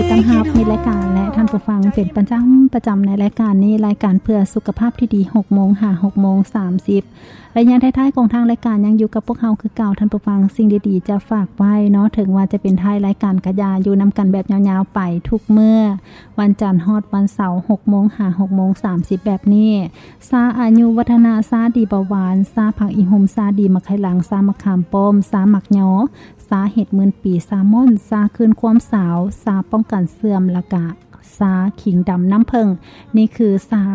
ຕ້ອນຮັບມິດລາຍການ ແລະ ທ່ານຜູ້ຟັງເປັນປະຈຳ, ປະຈຳໃນລາຍການນີ້, ລາຍການເພື່ອສຸຂະພາບທີ່ດີ ຫົກໂມງຫາຫົກໂມງສາມສິບ. ໄລຍະທ້າຍໆຂອງທາງລາຍການຍັງຢູ່ກັບພວກເຮົາຄືເກົ່າ, ທ່ານຜູ້ຟັງ, ສິ່ງດີໆຈະຝາກໄວ້ເນາະ, ເຖິງວ່າຈະເປັນທ້າຍລາຍການກະຢ່າ, ຢູ່ນຳກັນແບບຍາວໆໄປທຸກມື້, ວັນຈັນຮອດວັນເສົາ ຫົກໂມງຫາຫົກໂມງສາມສິບແບບນີ້. ຊາອາຍຸວັດທະນະ, ຊາດີເບົາຫວານ, ຊາຜັກອີ່ຫຸ່ມ, ຊາດີໝາກໄຂ່ຫຼັງ, ຊາໝາກຂາມປ້ອມ, ຊາໝາກຍໍ, ຊາເຫັດໝື່ນປີ, ຊາມ່ອນ, ຊາຄືນຄວາມສາວ, ຊາປ້ອງກັນເສື່ອມ ແລ້ວກະຊາຂີງດຳນ້ຳເຜິ້ງ. ນີ້ຄືຊາ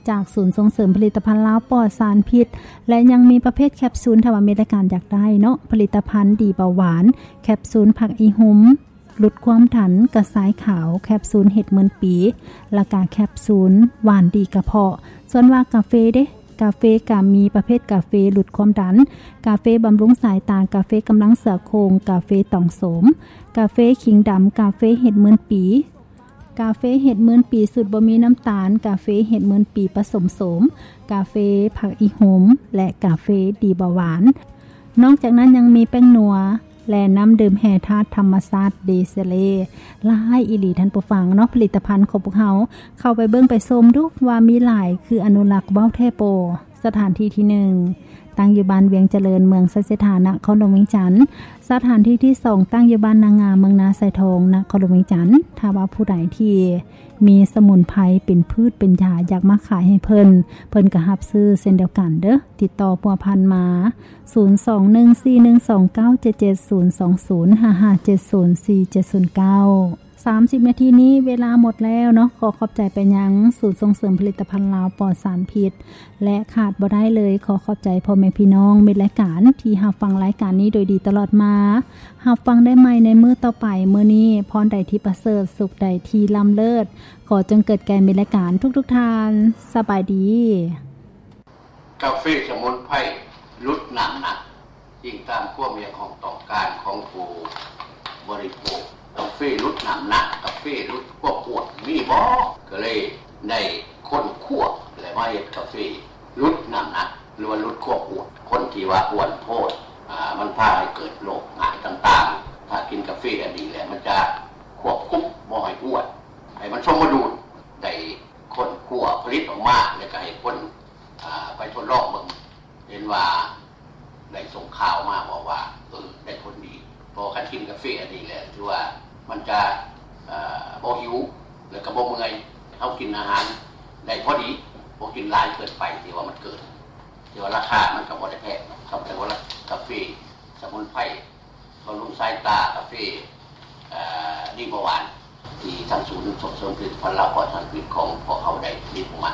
ຈາກສູນສົ່ງເສີມຜະລິດຕະພັນລາວປອດສານພິດ ແລະ ຍັງມີປະເພດແຄບຊູນ, ຖ້າວ່າມີລາຍການຢາກໄດ້ເນາະ, ຜະລິດຕະພັນດີເບົາຫວານ, ແຄບຊູນຜັກອີ່ຫຸ່ມ ຫຼຸດຄວາມດັນ, ກະຊາຍຂາວ, ແຄບຊູນເຫັດໝື່ນປີ ແລ້ວກະແຄບຊູນຫວານດີກະເພາະ. ສ່ວນວ່າກາເຟເດ, ກາເຟກະມີປະເພດກາເຟຫຼຸດຄວາມດັນ, ກາເຟບຳລຸງສາຍຕາ, ກາເຟກຳລັງເສືອໂຄງ, ກາເຟຕອງໂສມ, ກາເຟຂີງດຳ, ກາເຟເຫັດໝື່ນປີ, ກາເຟເຫັດໝື່ນປີສູດບໍ່ມີນ້ຳຕານ, ກາເຟເຫັດໝື່ນປີປະສົມໂສມ, ກາເຟຜັກອີ່ຫຸ່ມ ແລະ ກາເຟດີເບົາຫວານ. ນອກຈາກນັ້ນຍັງມີແປ້ງນົວ ແລະ ນ້ຳດື່ມແຮ່ທາດທຳມະຊາດເດເຊເລ ຫຼາຍອີ່ຫຼີທ່ານຜູ້ຟັງເນາະ. ຜະລິດຕະພັນຂອງພວກເຮົາ ເຂົ້າໄປເບິ່ງໄປຊົມດູວ່າມີຫຼາຍຄືອະນຸລັກເວົ້າແທ້ບໍ່. ສະຖານທີ່ທີໜຶ່ງ ຕັ້ງຢູ່ບ້ານວຽງຈະເລີນ ເມືອງໄຊເສດຖາ ນະຄອນຫຼວງວຽງຈັນ. ສະຖານທີ່ທີສອງ ຕັ້ງຢູ່ບ້ານນາງາມ ເມືອງນາຊາຍທອງ ນະຄອນຫຼວງວຽງຈັນ. ຖ້າວ່າຜູ້ໃດທີ່ມີສະໝຸນໄພເປັນພືດເປັນຢາ ຢາກມາຂາຍໃຫ້ເພິ່ນ, ເພິ່ນກໍຮັບຊື້ເຊັ່ນດຽວກັນເດີ້. ຕິດຕໍ່ພົວພັນມາ ສູນສອງໜຶ່ງສີ່ໜຶ່ງສອງເກົ້າເຈັດເຈັດສູນສອງສູນ ຫ້າຫ້າເຈັດສູນສີ່ເຈັດສູນເກົ້າ. ສາມສິບນາທີນີ້ເວລາໝົດແລ້ວເນາະ. ຂໍຂອບໃຈໄປຍັງສູນສົ່ງເສີມຜະລິດຕະພັນລາວປອດສານພິດ ແລະ ຂາດບໍ່ໄດ້ເລີຍ, ຂໍຂອບໃຈພໍ່ແມ່ພີ່ນ້ອງມິດລາຍການທີ່ຮັບຟັງລາຍການນີ້ໂດຍດີຕະຫຼອດມາ. ຮັບຟັງໄດ້ໃໝ່ໃນມື້ຕໍ່ໄປ. ມື້ນີ້ພອນໃດທີ່ປະເສີດ, ສຸກໃດທີ່ລ້ຳເລີດ, ຂໍຈົ່ງເກີດແກ່ມິດລາຍການທຸກໆທ່ານ. ສະບາຍດີ. ກາເຟສະໝຸນໄພຫຼຸດນ້ຳໜັກ ອີງຕາມຄວາມຮຽກຮ້ອງຕ້ອງການຂອງຜູ້ບໍລິໂພກ. ກາເຟຫຼຸດນ້ຳໜັກ, ກາເຟຫຼຸດຄວາມອ້ວນ ມີບໍ່? ກໍເລີຍໄດ້ຄົ້ນຄວ້າ ແລະ ມາເຮັດກາເຟຫຼຸດນ້ຳໜັກ ຫຼືວ່າຫຼຸດຄວາມອ້ວນ. ຄົນທີ່ວ່າອ້ວນໂພດ ອາ ມັນພາໃຫ້ເກີດໂລກຮ້າຍຕ່າງໆ. ຖ້າກິນກາເຟອັນນີ້ແລ້ວ ມັນຈະຄວບຄຸມບໍ່ໃຫ້ອ້ວນ, ໃຫ້ມັນສົມມະດູນ. ໄດ້ຄົ້ນຄວ້າຜະລິດອອກມາ ແລ້ວກໍໃຫ້ຄົນ ອາ ໄປທົດລອງເບິ່ງ, ເຫັນວ່າໄດ້ສົ່ງຂ່າວມາບອກວ່າ ເອີ ໄດ້ຜົນດີ. ເພາະວ່າຄັນກິນກາເຟອັນນີ້ແລ້ວ ຖືວ່າມັນຈະ ເອີ ບໍ່ຫິວ ແລ້ວກໍບໍ່ເມື່ອຍ. ເຮົາກິນອາຫານໄດ້ພໍດີ, ບໍ່ກິນຫຼາຍເກີນໄປ ທີ່ວ່າມັນເກີນ, ທີ່ວ່າລາຄາມັນກໍບໍ່ໄດ້ແພງເນາະ. ຄຳວ່າກາເຟສະໝຸນໄພ ບຳລຸງສາຍຕາ, ກາເຟ ເອີ ດີເບົາຫວານ ທີ່ທາງສູນສົ່ງເສີມຜະລິດຕະພັນລາວປອດສານພິດຂອງພວກເຮົາໄດ້ຜະລິດອອກມາ.